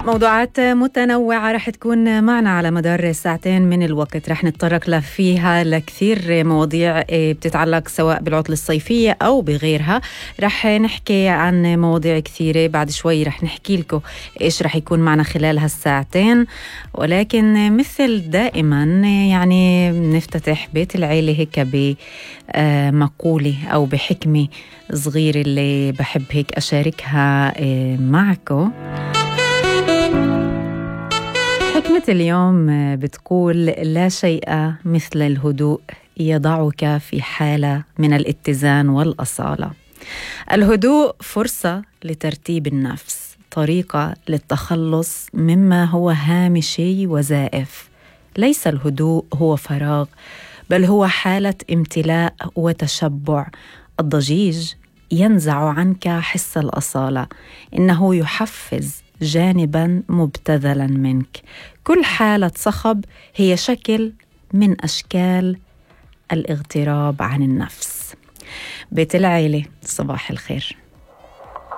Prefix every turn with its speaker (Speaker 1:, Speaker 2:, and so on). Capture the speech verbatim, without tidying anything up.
Speaker 1: موضوعات متنوعة رح تكون معنا على مدار ساعتين من الوقت. رح نتطرق فيها لكثير مواضيع بتتعلق سواء بالعطلة الصيفية أو بغيرها. رح نحكي عن مواضيع كثيرة. بعد شوي رح نحكي لكم إيش رح يكون معنا خلال هالساعتين، ولكن مثل دائما يعني نفتتح بيت العيلة هيك بمقولة أو بحكمة صغيرة اللي بحب هيك أشاركها معكم. حكمة اليوم بتقول: لا شيء مثل الهدوء يضعك في حالة من الاتزان والأصالة. الهدوء فرصة لترتيب النفس، طريقة للتخلص مما هو هامشي وزائف. ليس الهدوء هو فراغ، بل هو حالة امتلاء وتشبع. الضجيج ينزع عنك حس الأصالة، إنه يحفز جانباً مبتذلاً منك. كل حالة صخب هي شكل من أشكال الاغتراب عن النفس. بيت العيلة، صباح الخير.